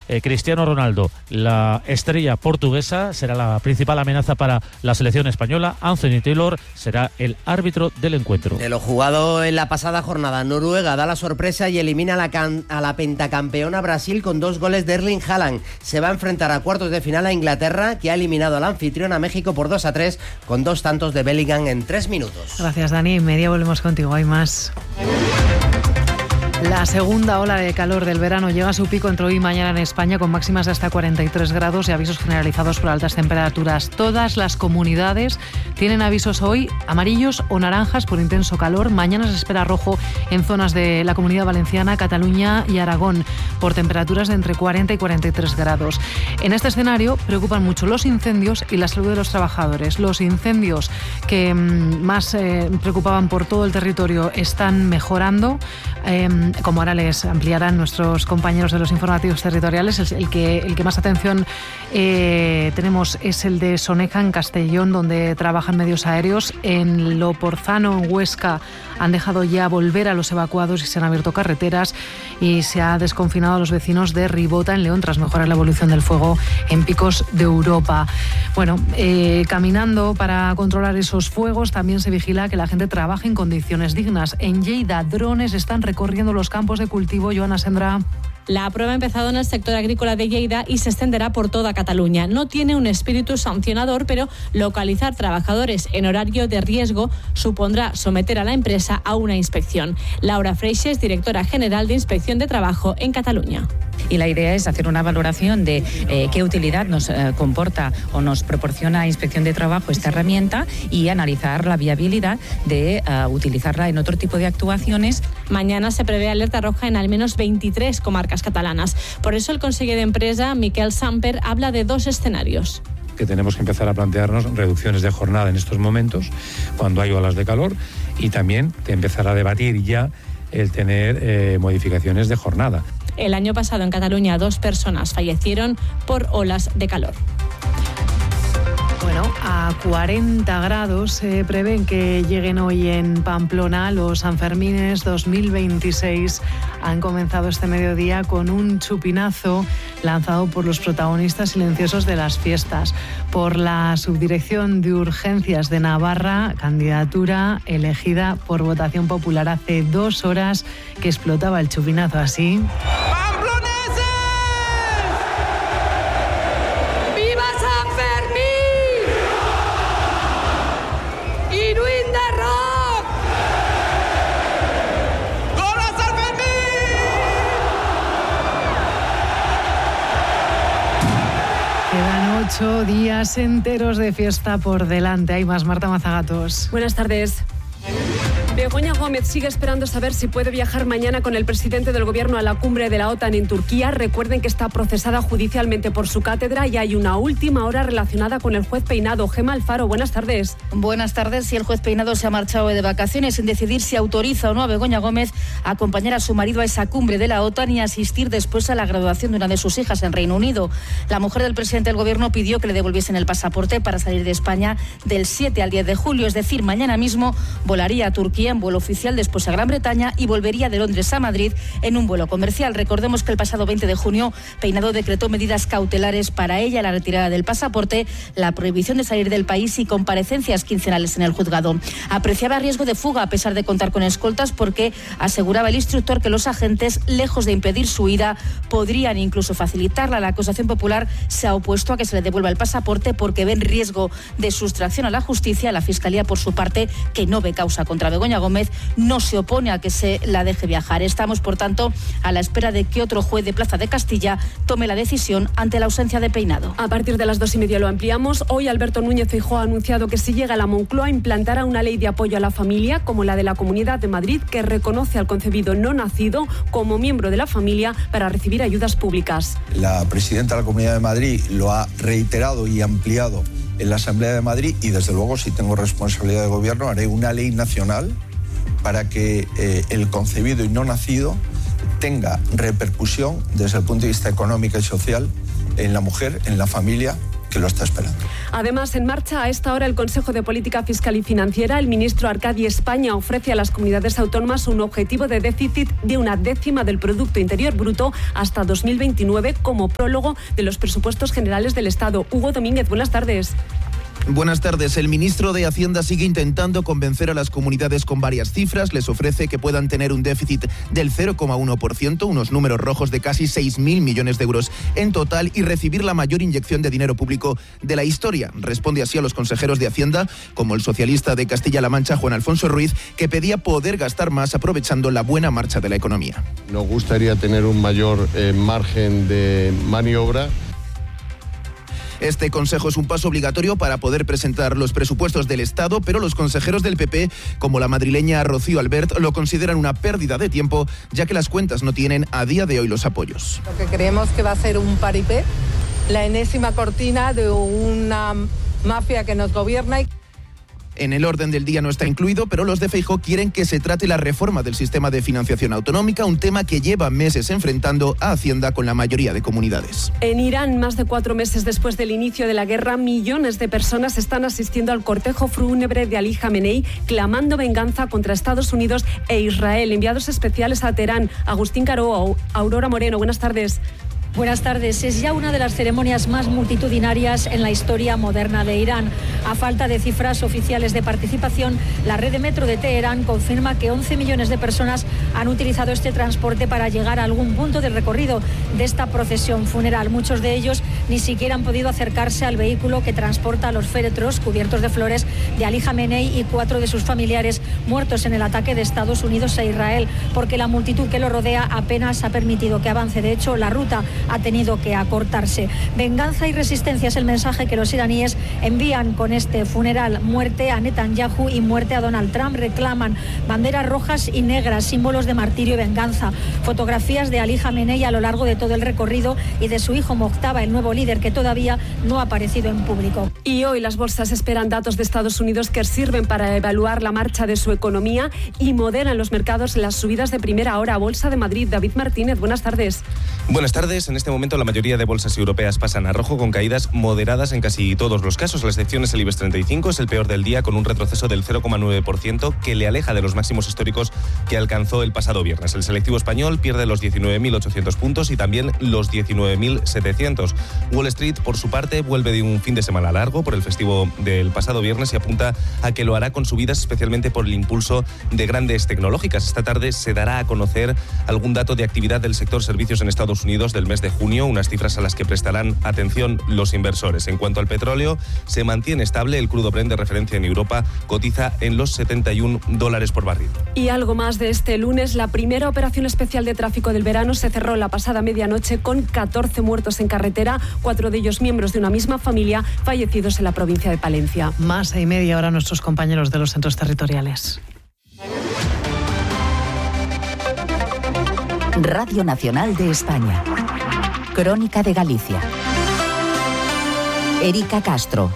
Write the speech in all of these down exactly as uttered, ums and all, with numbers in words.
eh, Cristiano Ronaldo, la estrella portuguesa, será la principal amenaza para la selección española. Anthony Taylor será el árbitro del encuentro. De lo jugado en la pasada jornada, Noruega da la sorpresa y elimina a la, can- a la pentacampeona Brasil con dos goles de Erling Haaland. Se va a enfrentar a cuartos de final a Inglaterra, que ha eliminado al anfitrión a México por dos a tres con dos tantos de Bellingham en tres minutos. Gracias, Dani. En media volvemos contigo. Hay más. La segunda ola de calor del verano llega a su pico entre hoy y mañana en España, con máximas de hasta cuarenta y tres grados y avisos generalizados por altas temperaturas. Todas las comunidades tienen avisos hoy amarillos o naranjas por intenso calor. Mañana se espera rojo en zonas de la Comunidad Valenciana, Cataluña y Aragón, por temperaturas de entre cuarenta y cuarenta y tres grados. En este escenario preocupan mucho los incendios y la salud de los trabajadores. Los incendios que mmm, más eh, preocupaban por todo el territorio están mejorando. Eh, como ahora les ampliarán nuestros compañeros de los informativos territoriales, el, el, que, el que más atención eh, tenemos es el de Soneja, en Castellón, donde trabajan medios aéreos. En Loporzano, en Huesca, han dejado ya volver a los evacuados y se han abierto carreteras, y se ha desconfinado a los vecinos de Ribota, en León, tras mejorar la evolución del fuego en picos de Europa. Bueno, eh, caminando para controlar esos fuegos, también se vigila que la gente trabaje en condiciones dignas. En Lleida, drones están recorriendo los campos de cultivo. Joana Sendra. La prueba ha empezado en el sector agrícola de Lleida y se extenderá por toda Cataluña. No tiene un espíritu sancionador, pero localizar trabajadores en horario de riesgo supondrá someter a la empresa a una inspección. Laura Freixes, directora general de Inspección de Trabajo en Cataluña. Y la idea es hacer una valoración de eh, qué utilidad nos eh, comporta o nos proporciona Inspección de Trabajo esta herramienta, y analizar la viabilidad de uh, utilizarla en otro tipo de actuaciones. Mañana se prevé alerta roja en al menos veintitrés comarcas catalanas. Por eso el conseller de Empresa, Miquel Samper, habla de dos escenarios. Que tenemos que empezar a plantearnos reducciones de jornada en estos momentos, cuando hay olas de calor, y también empezar a debatir ya el tener eh, modificaciones de jornada. El año pasado en Cataluña dos personas fallecieron por olas de calor. Bueno, a cuarenta grados se prevén que lleguen hoy en Pamplona. Los Sanfermines dos mil veintiséis han comenzado este mediodía con un chupinazo lanzado por los protagonistas silenciosos de las fiestas. Por la Subdirección de Urgencias de Navarra, candidatura elegida por votación popular. Hace dos horas que explotaba el chupinazo así. Ocho días enteros de fiesta por delante. Hay más. Marta Mazagatos. Buenas tardes. Begoña Gómez sigue esperando saber si puede viajar mañana con el presidente del gobierno a la cumbre de la OTAN en Turquía. Recuerden que está procesada judicialmente por su cátedra y hay una última hora relacionada con el juez Peinado. Gemma Alfaro, buenas tardes. Buenas tardes. Y el juez Peinado se ha marchado de vacaciones sin decidir si autoriza o no a Begoña Gómez a acompañar a su marido a esa cumbre de la OTAN y asistir después a la graduación de una de sus hijas en Reino Unido. La mujer del presidente del gobierno pidió que le devolviesen el pasaporte para salir de España del siete al diez de julio, es decir, mañana mismo volaría a Turquía en vuelo oficial, después a Gran Bretaña y volvería de Londres a Madrid en un vuelo comercial. Recordemos que el pasado veinte de junio Peinado decretó medidas cautelares para ella: la retirada del pasaporte, la prohibición de salir del país y comparecencias quincenales en el juzgado. Apreciaba riesgo de fuga a pesar de contar con escoltas, porque aseguraba el instructor que los agentes, lejos de impedir su huida, podrían incluso facilitarla. La acusación popular se ha opuesto a que se le devuelva el pasaporte porque ven riesgo de sustracción a la justicia. La Fiscalía, por su parte, que no ve causa contra Begoña Gómez, no se opone a que se la deje viajar. Estamos, por tanto, a la espera de que otro juez de Plaza de Castilla tome la decisión ante la ausencia de Peinado. A partir de las dos y media lo ampliamos. Hoy Alberto Núñez Feijóo ha anunciado que si llega a la Moncloa implantará una ley de apoyo a la familia, como la de la Comunidad de Madrid, que reconoce al concebido no nacido como miembro de la familia para recibir ayudas públicas. La presidenta de la Comunidad de Madrid lo ha reiterado y ampliado en la Asamblea de Madrid, y desde luego, si tengo responsabilidad de gobierno, haré una ley nacional para que eh, el concebido y no nacido tenga repercusión desde el punto de vista económico y social en la mujer, en la familia que lo está esperando. Además, en marcha a esta hora el Consejo de Política Fiscal y Financiera. El ministro Arcadi España ofrece a las comunidades autónomas un objetivo de déficit de una décima del Producto Interior Bruto hasta dos mil veintinueve como prólogo de los presupuestos generales del Estado. Hugo Domínguez, buenas tardes. Buenas tardes. El ministro de Hacienda sigue intentando convencer a las comunidades con varias cifras. Les ofrece que puedan tener un déficit del cero coma uno por ciento, unos números rojos de casi seis mil millones de euros en total, y recibir la mayor inyección de dinero público de la historia. Responde así a los consejeros de Hacienda, como el socialista de Castilla-La Mancha, Juan Alfonso Ruiz, que pedía poder gastar más aprovechando la buena marcha de la economía. Nos gustaría tener un mayor eh, margen de maniobra. Este consejo es un paso obligatorio para poder presentar los presupuestos del Estado, pero los consejeros del P P, como la madrileña Rocío Albert, lo consideran una pérdida de tiempo, ya que las cuentas no tienen a día de hoy los apoyos. Lo que creemos que va a ser un paripé, la enésima cortina de una mafia que nos gobierna. Y En el orden del día no está incluido, pero los de Feijóo quieren que se trate la reforma del sistema de financiación autonómica, un tema que lleva meses enfrentando a Hacienda con la mayoría de comunidades. En Irán, más de cuatro meses después del inicio de la guerra, millones de personas están asistiendo al cortejo fúnebre de Ali Jamenei, clamando venganza contra Estados Unidos e Israel. Enviados especiales a Teherán, Agustín Caro, Aurora Moreno, buenas tardes. Buenas tardes. Es ya una de las ceremonias más multitudinarias en la historia moderna de Irán. A falta de cifras oficiales de participación, la red de metro de Teherán confirma que once millones de personas han utilizado este transporte para llegar a algún punto del recorrido de esta procesión funeral. Muchos de ellos ni siquiera han podido acercarse al vehículo que transporta a los féretros cubiertos de flores de Ali Jamenei y cuatro de sus familiares muertos en el ataque de Estados Unidos a Israel, porque la multitud que lo rodea apenas ha permitido que avance. De hecho, la ruta ha tenido que acortarse. Venganza y resistencia es el mensaje que los iraníes envían con este funeral. Muerte a Netanyahu y muerte a Donald Trump. Reclaman banderas rojas y negras, símbolos de martirio y venganza. Fotografías de Ali Jamenei a lo largo de todo el recorrido y de su hijo Mojtaba, el nuevo líder, que todavía no ha aparecido en público. Y hoy las bolsas esperan datos de Estados Unidos que sirven para evaluar la marcha de su economía y moderan los mercados las subidas de primera hora. Bolsa de Madrid, David Martínez, buenas tardes. Buenas tardes. En este momento la mayoría de bolsas europeas pasan a rojo, con caídas moderadas en casi todos los casos. La excepción es el IBEX treinta y cinco, es el peor del día, con un retroceso del cero coma nueve por ciento que le aleja de los máximos históricos que alcanzó el pasado viernes. El selectivo español pierde los diecinueve mil ochocientos puntos y también los diecinueve mil setecientos. Wall Street, por su parte, vuelve de un fin de semana largo por el festivo del pasado viernes y apunta a que lo hará con subidas, especialmente por el impulso de grandes tecnológicas. Esta tarde se dará a conocer algún dato de actividad del sector servicios en Estados Unidos del mes de junio, unas cifras a las que prestarán atención los inversores. En cuanto al petróleo, se mantiene estable. El crudo Brent de referencia en Europa cotiza en los setenta y un dólares por barril. Y algo más de este lunes, la primera operación especial de tráfico del verano se cerró la pasada medianoche con catorce muertos en carretera, cuatro de ellos miembros de una misma familia, fallecidos en la provincia de Palencia. Más y media hora nuestros compañeros de los centros territoriales. Radio Nacional de España. Crónica de Galicia. Erika Castro.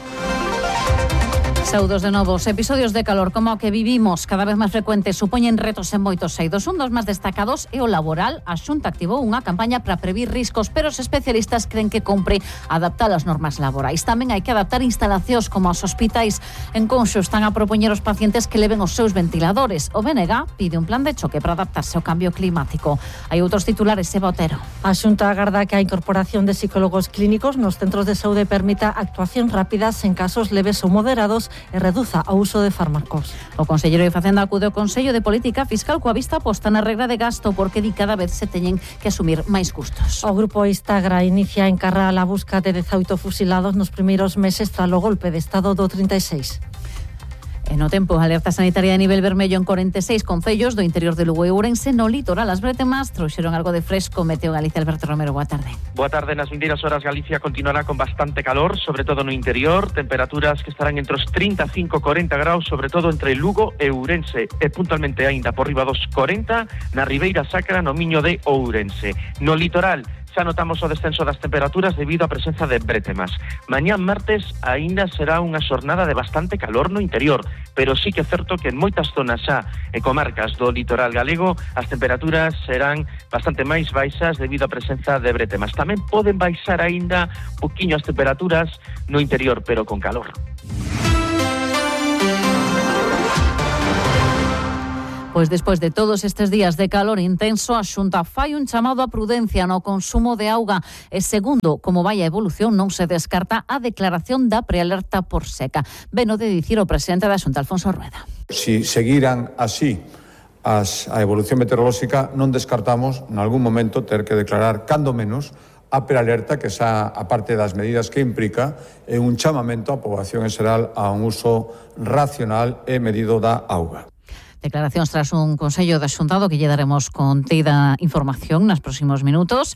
Saudos de novos episodios de calor como o que vivimos cada vez máis frecuentes supoñen retos en moitos eidos. Un dos máis destacados é o laboral. A Xunta activou unha campaña para previr riscos, pero os especialistas creen que compre adaptar as normas laborais. Tamén hai que adaptar instalacións como os hospitais. En Conxo están a propoñer aos pacientes que leven os seus ventiladores. O B N G pide un plan de choque para adaptarse ao cambio climático. Hai outros titulares, Eva Otero. A Xunta agarda que a incorporación de psicólogos clínicos nos centros de saúde permita actuacións rápidas en casos leves ou moderados e reduza o uso de fármacos. O conselleiro de Facenda acude ao Consello de Política Fiscal coa vista posta na regra de gasto, porque di cada vez se teñen que asumir máis custos. O grupo Istagra inicia en Carral a busca de dezaoito fusilados nos primeiros meses tras o golpe de Estado do trinta e seis. E no tempo, alerta sanitaria de nivel vermello en corenta e seis concellos do interior de Lugo e Ourense. No litoral, as bretemas trouxeron algo de fresco. Meteo Galicia, Alberto Romero, boa tarde. Boa tarde. Nas vindeiras horas Galicia continuará con bastante calor, sobre todo no interior, temperaturas que estarán entre os trinta e cinco e corenta graus, sobre todo entre Lugo e Ourense, e puntualmente aínda por riba dos corenta na Ribeira Sacra, no Miño de Ourense. No litoral, xa notamos o descenso das temperaturas debido á presenza de brétemas. Mañán martes aínda será unha xornada de bastante calor no interior, pero sí que é certo que en moitas zonas xa e comarcas do litoral galego as temperaturas serán bastante máis baixas debido á presenza de brétemas. Tamén poden baixar aínda un poquinho as temperaturas no interior, pero con calor. Pois despois de todos estes días de calor intenso, a Xunta fai un chamado a prudencia no consumo de auga e segundo como vai a evolución non se descarta a declaración da prealerta por seca. Veno de dicir o presidente da Xunta, Alfonso Rueda. Si seguiran así as, a evolución meteorolóxica, non descartamos en algún momento ter que declarar cando menos a prealerta, que xa, a parte das medidas que implica, é un chamamento á poboación en xeral a un uso racional e medido da auga. Declaracións tras un Consello de Xuntado que lle daremos contida información nos próximos minutos.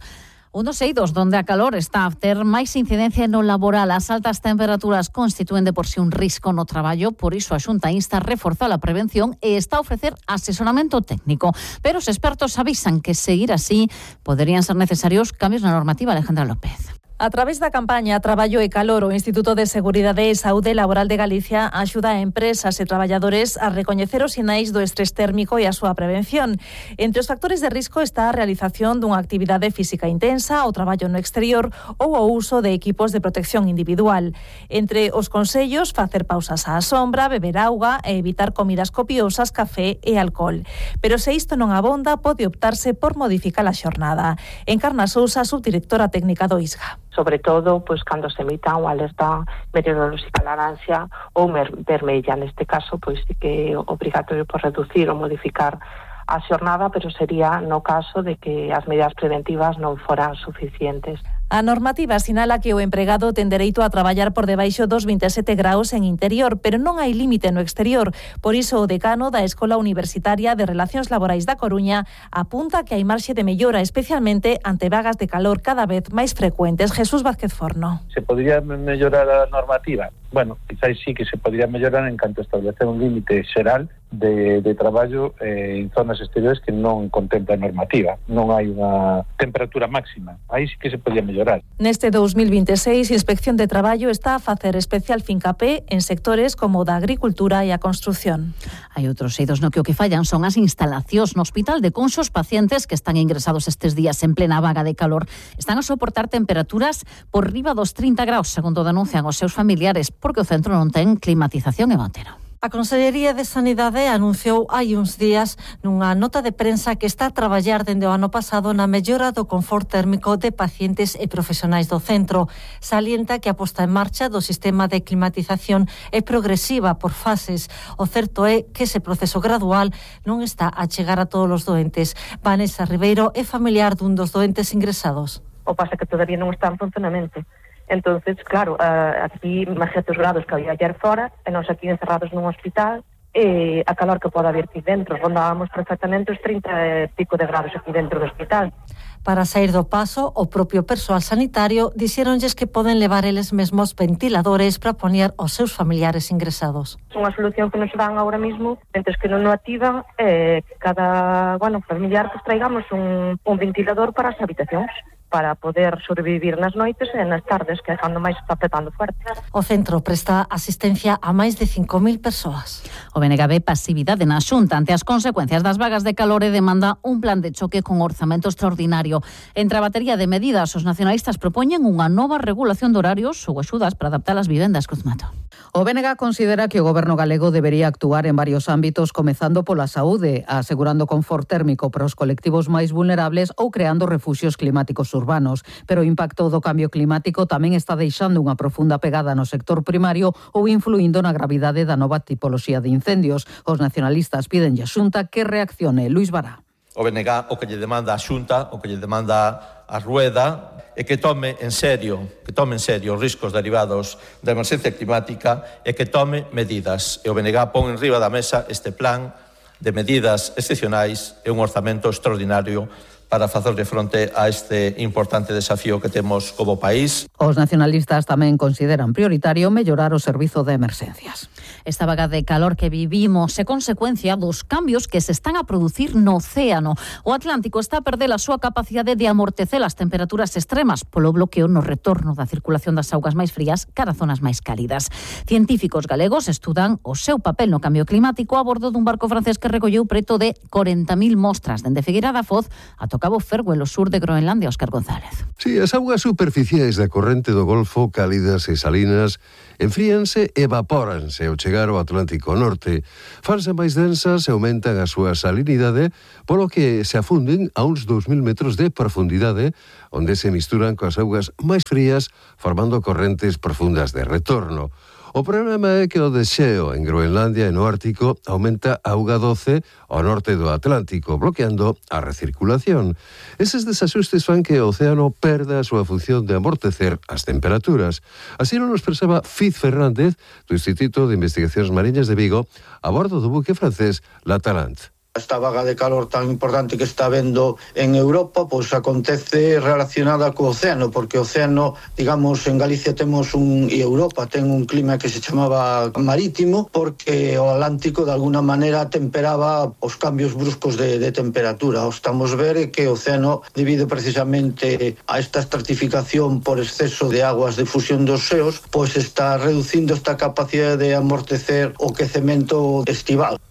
Un dos eidos donde a calor está a ter máis incidencia no laboral. As altas temperaturas constitúen de por sí un risco no traballo, por iso a Xunta insta a reforzar a prevención e está a ofrecer asesoramento técnico. Pero os expertos avisan que seguir así poderían ser necesarios cambios na normativa. Alejandra López. A través da campaña Traballo e Calor, o Instituto de Seguridade e Saúde Laboral de Galicia axuda a empresas e traballadores a recoñecer os sinais do estrés térmico e a súa prevención. Entre os factores de risco está a realización dunha actividade física intensa, o traballo no exterior ou o uso de equipos de protección individual. Entre os consellos, facer pausas á sombra, beber auga e evitar comidas copiosas, café e alcohol. Pero se isto non abonda, pode optarse por modificar a xornada. Encarna Sousa, subdirectora técnica do I S G A. Sobre todo, pois, cando se emita unha alerta meteorolóxica laranxa ou vermella. Neste caso, pois, sí que é obrigatorio por reducir ou modificar a xornada, pero sería no caso de que as medidas preventivas non foran suficientes. A normativa sinala que o empregado ten dereito a traballar por debaixo dos vinte e sete graus en interior, pero non hai límite no exterior. Por iso, o decano da Escola Universitaria de Relacións Laborais da Coruña apunta que hai marxe de mellora, especialmente ante vagas de calor cada vez máis frecuentes. Jesús Vázquez Forno. Se podría mellorar a normativa? Bueno, quizás sí que se podría mellorar en canto a establecer un límite xeral de, de traballo eh, en zonas exteriores que non contempla a normativa. Non hai unha temperatura máxima. Aí sí que se podría mellorar. Neste dos mil vinte e seis, Inspección de Traballo está a facer especial fincapé en sectores como o da agricultura e a construción. Hai outros eidos no que o que fallan son as instalacións no hospital de Conxo. Os pacientes que están ingresados estes días en plena vaga de calor están a soportar temperaturas por riba dos trinta graus, segundo denuncian os seus familiares, porque o centro non ten climatización. E Montero. A Consellería de Sanidade anunciou hai uns días nunha nota de prensa que está a traballar dende o ano pasado na mellora do confort térmico de pacientes e profesionais do centro. Salienta que a posta en marcha do sistema de climatización é progresiva por fases. O certo é que ese proceso gradual non está a chegar a todos os doentes. Vanessa Ribeiro é familiar dun dos doentes ingresados. O pasa que todavía non está en funcionamento. Entonces, claro, uh, aquí imagínate os grados que había ayer fora, e nós aquí encerrados nun hospital, e a calor que pode haber aquí dentro. Rondábamos perfectamente os trinta e pico de grados aquí dentro do hospital. Para sair do paso, o propio persoal sanitario dixéronlles que poden levar eles mesmos ventiladores para poñer os seus familiares ingresados. Unha solución que nos dan ahora mismo, entes que non o activan, é que cada, bueno, familiar que traigamos un, un ventilador para as habitacións, para poder sobrevivir nas noites e nas tardes, que é cando máis está petando fuerte. O centro presta asistencia a máis de cinco mil persoas. O B N G ve pasividade na Xunta ante as consecuencias das vagas de calor e demanda un plan de choque con orzamento extraordinario. Entre a batería de medidas, os nacionalistas propoñen unha nova regulación de horarios ou axudas para adaptar as vivendas. Cruzmato. O B N G considera que o goberno galego debería actuar en varios ámbitos, comezando pola saúde, asegurando confort térmico para os colectivos máis vulnerables ou creando refuxios climáticos urbanos. Pero o impacto do cambio climático tamén está deixando unha profunda pegada no sector primario ou influindo na gravidade da nova tipoloxía de incendios. Os nacionalistas piden a Xunta que reaccione. Luís Bará. O B N G o que lle demanda a Xunta, o que lle demanda a Rueda, é que tome en serio, que tome en serio os riscos derivados da emerxencia climática e que tome medidas. E o B N G pon en riba da mesa este plan de medidas excepcionais e un orzamento extraordinario para facerle fronte a este importante desafío que temos como país. Os nacionalistas tamén consideran prioritario mellorar o servizo de emerxencias. Esta vaga de calor que vivimos é consecuencia dos cambios que se están a producir no océano. O Atlántico está a perder a súa capacidade de amortecer as temperaturas extremas polo bloqueo no retorno da circulación das augas máis frías cara a zonas máis cálidas. Científicos galegos estudan o seu papel no cambio climático a bordo dun barco francés que recolleu preto de corenta mil mostras dende Figueira da Foz ata o Cabo Ferguel, o sur de Groenlandia. Óscar González. Si, as augas superficiais da corrente do Golfo, cálidas e salinas, enfríanse e evapóranse ao chegar ao Atlántico Norte. Fanse máis densas e aumentan a súa salinidade, polo que se afunden a uns dous mil metros de profundidade, onde se misturan coas augas máis frías, formando correntes profundas de retorno. O problema é que o desxeo en Groenlandia e no Ártico aumenta a auga doce ao norte do Atlántico, bloqueando a recirculación. Eses desaxustes fan que o océano perda a súa función de amortecer as temperaturas. Así non nos expresaba Fiz Fernández, do Instituto de Investigacións Mariñas de Vigo, a bordo do buque francés La Talente. Esta vaga de calor tan importante que está vendo en Europa, pois acontece relacionada co océano, porque o océano, digamos, en Galicia temos un, e Europa ten un clima que se chamaba marítimo, porque o Atlántico de alguna maneira temperaba os cambios bruscos de, de temperatura. O estamos ver que o océano, debido precisamente a esta estratificación por exceso de aguas de fusión dos xeos, pois está reducindo esta capacidade de amortecer o quecemento estival.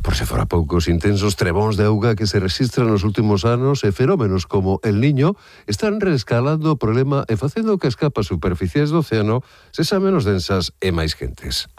Por se fora poucos intensos trebóns de auga que se registran nos últimos anos e fenómenos como el Niño están reescalando o problema e facendo que as capas superficiais do océano sexan menos densas e máis quentes.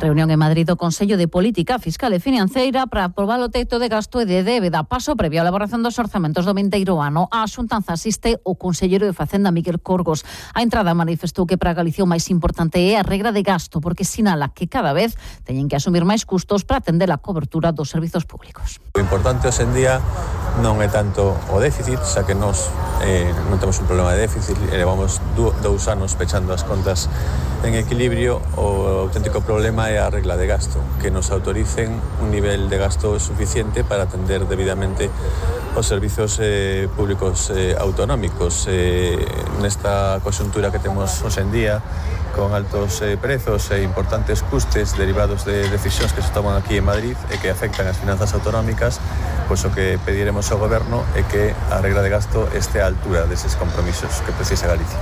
Reunión en Madrid do Consello de Política Fiscal e Financeira para aprobar o teito de gasto e de débeda. Paso previo á elaboración dos orzamentos do vindeiro ano. A xuntanza asiste o conselleiro de Facenda, Miguel Corgos. A entrada manifestou que para Galicia o máis importante é a regra de gasto, porque sinala que cada vez teñen que asumir máis custos para atender a cobertura dos servizos públicos. O importante hoxe en día non é tanto o déficit, xa que nós eh, non temos un problema de déficit, levamos dous anos pechando as contas en equilibrio. O auténtico problema é a regla de gasto, que nos autoricen un nivel de gasto suficiente para atender debidamente os servizos eh, públicos eh, autonómicos. Eh, nesta coyuntura que temos hoxe en día, con altos eh, prezos e importantes custes derivados de decisións que se toman aquí en Madrid e que afectan as finanzas autonómicas, pois o que pediremos ao Goberno é que a regla de gasto este á altura deses compromisos que precisa Galicia.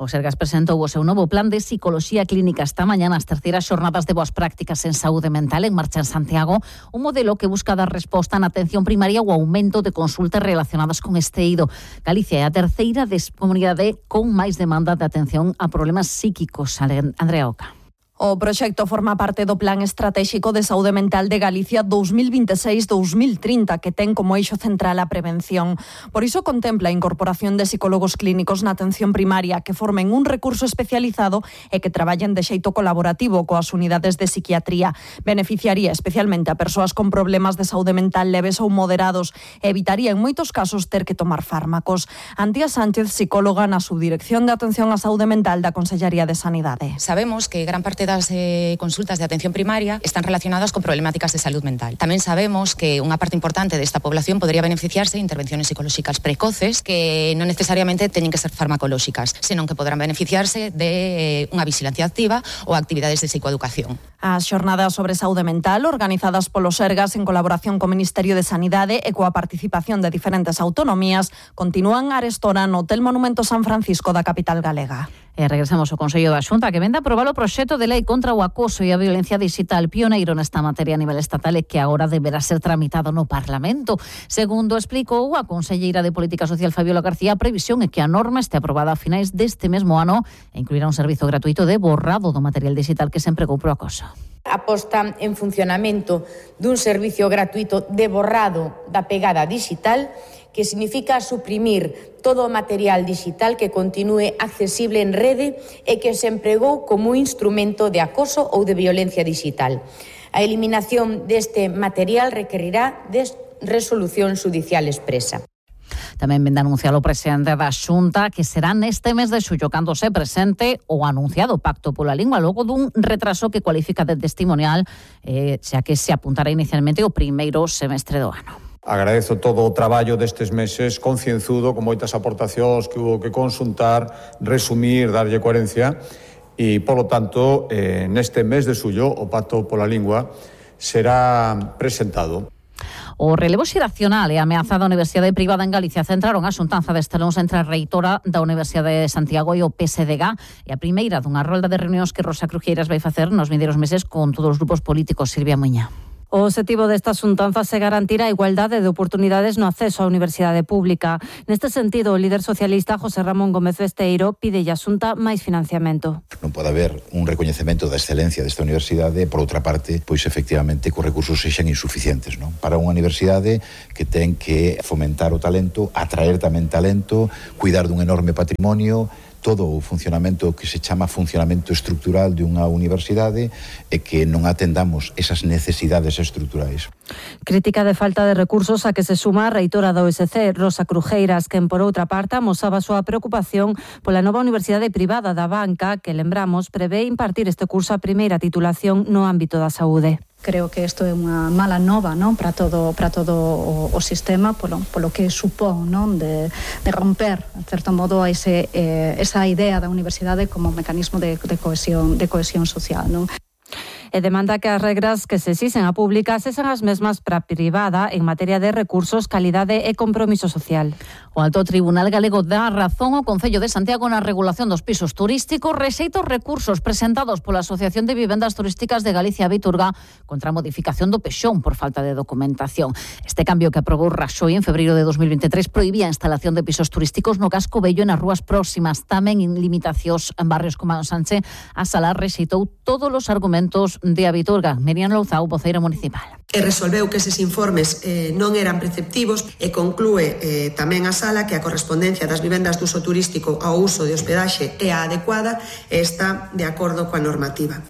O Sergas presentou o seu novo plan de psicoloxía clínica esta mañá nas terceiras xornadas de boas prácticas en saúde mental en marcha en Santiago, un modelo que busca dar resposta na atención primaria ao aumento de consultas relacionadas con este eido. Galicia é a terceira comunidade con máis demanda de atención a problemas psíquicos. Andrea Oca. O proxecto forma parte do Plan Estratéxico de Saúde Mental de Galicia dos mil vinte e seis a dos mil trinta, que ten como eixo central a prevención. Por iso contempla a incorporación de psicólogos clínicos na atención primaria que formen un recurso especializado e que traballen de xeito colaborativo coas unidades de psiquiatría. Beneficiaría especialmente a persoas con problemas de saúde mental leves ou moderados e evitaría en moitos casos ter que tomar fármacos. Antía Sánchez, psicóloga na Subdirección de Atención á Saúde Mental da Consellería de Sanidade. Sabemos que gran parte das eh, consultas de atención primaria están relacionadas con problemáticas de salud mental. Tamén sabemos que unha parte importante desta población podría beneficiarse de intervenciones psicolóxicas precoces que non necesariamente teñen que ser farmacolóxicas, senón que podrán beneficiarse de eh, unha vigilancia activa ou actividades de psicoeducación. As xornadas sobre saúde mental, organizadas polo Sergas en colaboración co Ministerio de Sanidade e coa participación de diferentes autonomías, continúan arestora no Hotel Monumento San Francisco da capital galega. E regresamos ao Consello da Xunta, que vende a aprobar o proxecto de lei contra o acoso e a violencia digital, pioneiro nesta materia a nivel estatal e que agora deberá ser tramitado no Parlamento. Segundo explicou a conselleira de Política Social, Fabiola García, a previsión é que a norma este aprobada a finais deste mesmo ano e incluirá un servizo gratuito de borrado do material digital que se empregou pro acoso. A posta en funcionamento dun servicio gratuito de borrado da pegada digital, que significa suprimir todo o material digital que continúe accesible en rede e que se empregou como instrumento de acoso ou de violencia digital. A eliminación deste material requerirá de resolución xudicial expresa. Tamén vende anunciado o presidente da Xunta que será neste mes de xullo cando se presente o anunciado Pacto pola Lingua, logo dun retraso que cualifica de testimonial, eh, xa que se apuntara inicialmente o primeiro semestre do ano. Agradezo todo o traballo destes meses concienzudo, con moitas aportacións que hubo que consultar, resumir, darlle coherencia e, polo tanto, eh, neste mes de xullo o Pacto pola Lingua será presentado. O relevo xeracional e a ameaza da Universidade Privada en Galicia centraron a xuntanza deste luns entre a reitora da Universidade de Santiago e o P S D G e a primeira dunha rolda de reunións que Rosa Crujeiras vai facer nos vindeiros meses con todos os grupos políticos. Silvia Muña. O obxectivo desta xuntanza se garantir a igualdade de oportunidades no acceso á universidade pública. Neste sentido, o líder socialista José Ramón Gómez Besteiro pide a Xunta máis financiamento. Non pode haber un recoñecemento da excelencia desta universidade, por outra parte, pois efectivamente que os recursos sexan insuficientes, non? Para unha universidade que ten que fomentar o talento, atraer tamén talento, cuidar dun enorme patrimonio, todo o funcionamento que se chama funcionamento estrutural de unha universidade e que non atendamos esas necesidades estruturais. Crítica de falta de recursos a que se suma a reitora da U S C, Rosa Crujeiras, quen por outra parte amosaba a súa preocupación pola nova universidade privada da banca que, lembramos, prevé impartir este curso a primeira titulación no ámbito da saúde. Creo que isto é unha mala nova, non, para todo para todo o, o sistema polo polo que supón, non, de, de romper, en certo modo, ese eh, esa idea da universidade como mecanismo de, de cohesión de cohesión social, non? E demanda que as regras que se exixen a pública sexan as mesmas para a privada en materia de recursos, calidade e compromiso social. O Alto Tribunal Galego dá razón ao Concello de Santiago na regulación dos pisos turísticos, rexeita os recursos presentados pola Asociación de Vivendas Turísticas de Galicia Viturga contra a modificación do pexón por falta de documentación. Este cambio que aprobou Raxoi en febreiro de dos mil veintitrés prohibía a instalación de pisos turísticos no casco vello e nas rúas próximas, tamén en limitacións en barrios como a Sánchez. A Sala rexeitou todos os argumentos de a Viturga. Miriam Louzao, voceira municipal. E resolveu que eses informes eh, non eran preceptivos e conclúe eh, tamén a Sala que a correspondencia das vivendas de uso turístico ao uso de hospedaxe é a adecuada e está de acordo coa normativa.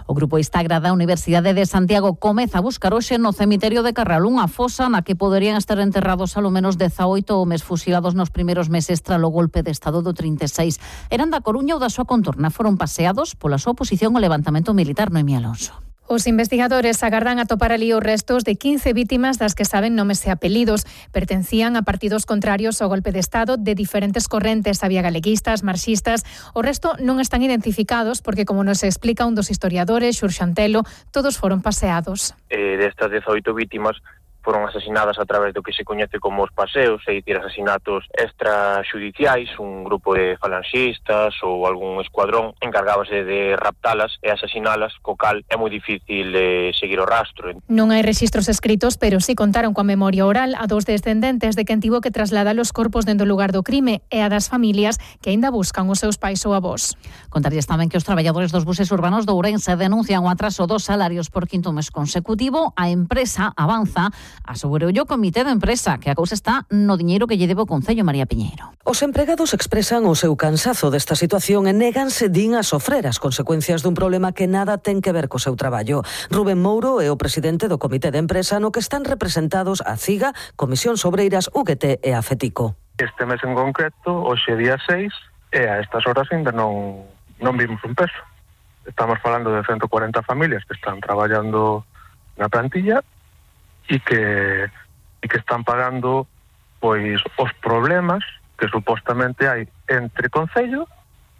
O Grupo Instagra da Universidade de Santiago comeza a buscar hoxe no cemiterio de Carral unha fosa na que poderían estar enterrados alo menos dezaoito homes fusilados nos primeiros meses tralo golpe de Estado do trinta e seis. Eran da Coruña ou da súa contorna, foron paseados pola súa oposición ao levantamento militar. Noemí Alonso. Os investigadores agardan atopar ali os restos de quince vítimas das que saben nomes e apelidos. Pertencían a partidos contrarios ao golpe de Estado de diferentes correntes. Había galeguistas, marxistas. O resto non están identificados porque, como nos explica un dos historiadores, Xurxo Antelo, todos foron paseados. Eh, destas dezaoito vítimas foron asasinadas a través do que se coñece como os paseos, é dicir, asasinatos extrajudiciais. Un grupo de falanxistas ou algún escuadrón encargábase de raptalas e asasinalas, co cal é moi difícil eh, seguir o rastro. Non hai rexistros escritos, pero sí contaron coa memoria oral a dos descendentes de quen tivo que trasladar os corpos dentro do lugar do crime e a das familias que aínda buscan os seus pais ou avós. Contarlles tamén que os traballadores dos buses urbanos de Ourense denuncian o atraso dos salarios por quinto mes consecutivo. A empresa avanza. Asegurou o comité de empresa que a cousa está no diñeiro que lle debe o Concello. María Piñeiro. Os empregados expresan o seu cansazo desta situación e néganse din a sofrer as consecuencias dun problema que nada ten que ver co seu traballo. Rubén Mouro é o presidente do comité de empresa no que están representados a CIGA, Comisións Obreiras, U G T e a FETICO. Este mes en concreto, hoxe día seis, e a estas horas ainda non, non vimos un peso. Estamos falando de ciento cuarenta familias que están traballando na plantilla e que, e que están pagando pois os problemas que supostamente hai entre Concello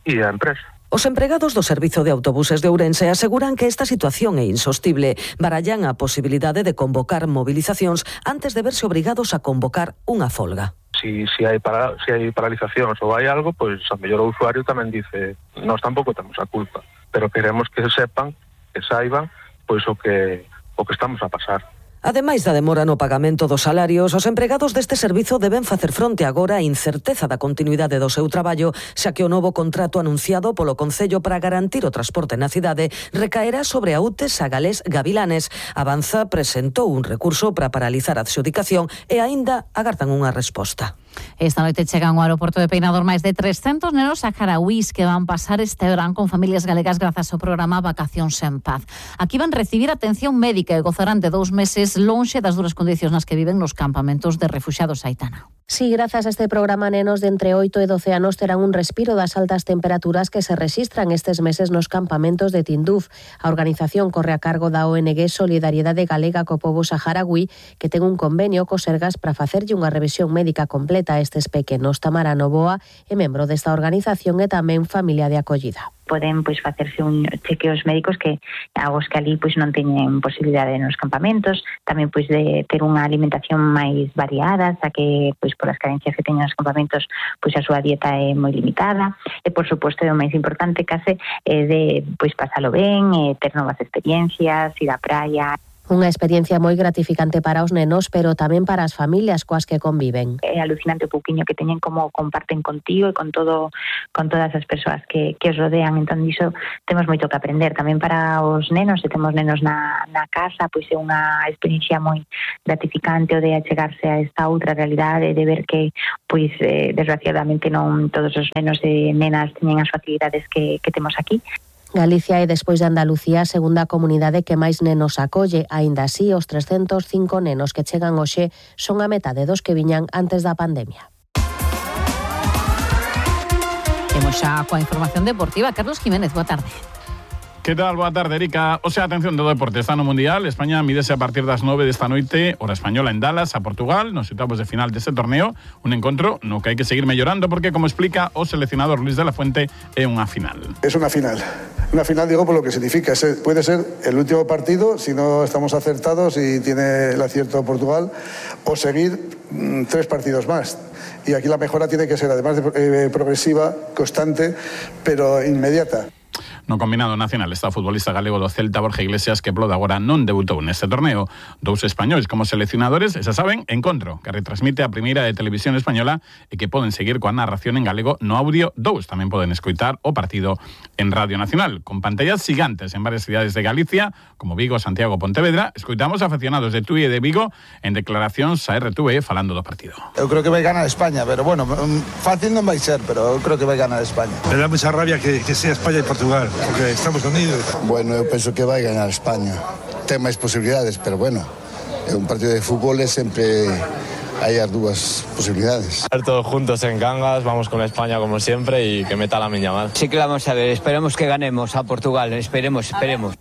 e a empresa. Os empregados do Servizo de Autobuses de Ourense aseguran que esta situación é insostible. Barallan a posibilidade de convocar movilizacións antes de verse obrigados a convocar unha folga. Si, si, hai para, si hai paralizacións ou hai algo, pois a mellor o usuario tamén dice nós tampouco temos a culpa, pero queremos que sepan, que saiban pois o que, o que estamos a pasar. Ademais da demora no pagamento dos salarios, os empregados deste servizo deben facer fronte agora á incerteza da continuidade do seu traballo, xa que o novo contrato anunciado polo Concello para garantir o transporte na cidade recaerá sobre a U T E Sagalés Gavilanes. Avanza presentou un recurso para paralizar a adxudicación e aínda agardan unha resposta. Esta noite chegan ao aeroporto de Peinador máis de trescentos nenos saharauís que van pasar este verán con familias galegas grazas ao programa Vacacións en Paz. Aquí van recibir atención médica e gozarán de dous meses lonxe das duras condicións nas que viven nos campamentos de refuxiados. Aitana. Sí, grazas a este programa, nenos de entre oito e doce anos terán un respiro das altas temperaturas que se rexistran estes meses nos campamentos de Tinduf. A organización corre a cargo da O N G Solidariedade Galega co pobo saharaui, que ten un convenio co Sergas para facerlle unha revisión médica completa a estes pequenos. Tamara Novoa é membro desta organización e tamén familia de acollida. Poden pois facerse un chequeos médicos que agos que ali pois non teñen posibilidade nos campamentos, tamén pois de ter unha alimentación máis variada, xa que pois polas carencias que teñen nos campamentos, pois a súa dieta é moi limitada e por suposto é o máis importante case é de pois pasalo ben, e ter novas experiencias, ir á praia. Unha experiencia moi gratificante para os nenos, pero tamén para as familias coas que conviven. É alucinante o pouquiño que teñen como comparten contigo e con todo con todas as persoas que, que os rodean. Entón, iso temos moito que aprender. Tamén para os nenos, se temos nenos na, na casa, pois é unha experiencia moi gratificante o de achegarse a esta outra realidade, de ver que, pois, eh, desgraciadamente non todos os nenos e nenas teñen as facilidades que, que temos aquí. Galicia é, despois de Andalucía, a segunda comunidade que máis nenos acolle. Aínda así, os trescentos cinco nenos que chegan hoxe son a metade dos que viñan antes da pandemia. Temos xa coa información deportiva. Carlos Jiménez, boa tarde. Que tal? Boa tarde, Erika. O sea, atención do deporte, está no Mundial. España mídese a partir das nove desta noite, hora española, en Dallas, a Portugal, nos oitavos de final deste torneo. Un encontro no que hai que seguir mellorando porque, como explica o seleccionador Luis de la Fuente, é unha final. Es una final. Una final, digo, por lo que significa. Puede ser el último partido, si no estamos acertados y tiene el acierto Portugal, o seguir mmm, tres partidos más. Y aquí la mejora tiene que ser, además de eh, progresiva, constante, pero inmediata. No combinado nacional está o futbolista galego do Celta, Borja Iglesias, que polo de agora non debutou neste torneo. Dous españois como seleccionadores, e xa saben, encontro que retransmite a primeira de televisión española e que poden seguir coa narración en galego no audio dous. Tamén poden escoitar o partido en Radio Nacional. Con pantallas gigantes en varias cidades de Galicia, como Vigo, Santiago, Pontevedra, escoitamos aficionados de Tui e de Vigo en declaracións a R T V falando do partido. Eu creo que vai ganar España, pero bueno, fácil non vai ser, pero eu creo que vai ganar España. Me dá mucha rabia que, que sea España e Portugal, porque estamos unidos. Bueno, eu penso que vai ganar España. Ten máis posibilidades, pero bueno, é un partido de fútbol e sempre hai as dúas posibilidades. Todos juntos en Cangas, vamos con España como siempre y que meta la miña mal. Sí que vamos a ver, esperemos que ganemos a Portugal, esperemos, esperemos.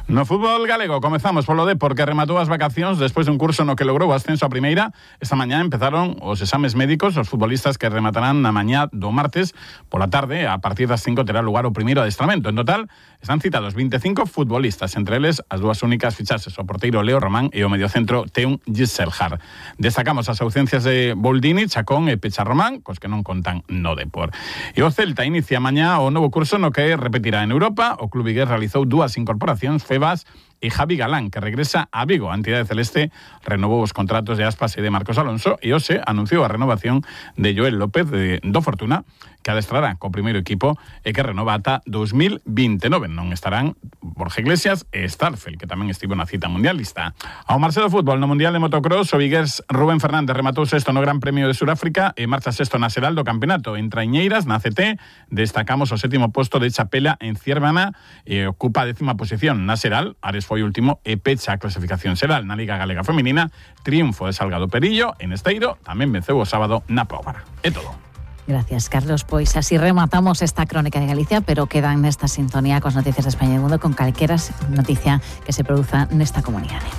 No fútbol galego comezamos polo Depor, que rematou as vacacións despois dun curso no que logrou o ascenso a primeira. Esta mañá empezaron os exames médicos. Os futbolistas que rematarán na mañá do martes pola tarde, a partir das cinco terá lugar o primeiro adestramento. En total están citados vinte e cinco futbolistas, entre eles as dúas únicas fichaxes, o porteiro Leo Román e o mediocentro Teun Gisselhar. Destacamos as ausencias de Boldini, Chacón e Pecha Román, cos que non contan no Depor. E o Celta inicia mañá o novo curso no que repetirá en Europa. O club vigués realizou dúas incorporacións, Febas e Javi Galán, que regresa a Vigo. A entidade celeste renovou os contratos de Aspas e de Marcos Alonso e hoxe anunciou a renovación de Joel López de, do Fortuna, que adestrará co primeiro equipo e que renova ata dos mil vinte e nove. Non estarán Borja Iglesias e Starfel, que tamén estivo na cita mundialista. Ao marxe do fútbol, no Mundial de Motocross, o vigués Rubén Fernández rematou sexto no Gran Premio de Suráfrica e marcha sexto na xeral do campeonato. En Traiñeiras, na C T, destacamos o sétimo posto de Chapela en Ciervana e ocupa a décima posición. Na xeral, Ares foi último e pecha a clasificación xeral. Na Liga Galega Feminina, triunfo de Salgado Perillo en Esteiro, tamén venceu o sábado na Póvara. É todo. Gracias, Carlos. Pois así rematamos esta crónica de Galicia, pero quedan nesta sintonía cos noticias de España e do Mundo con calquera noticia que se produza nesta comunidade.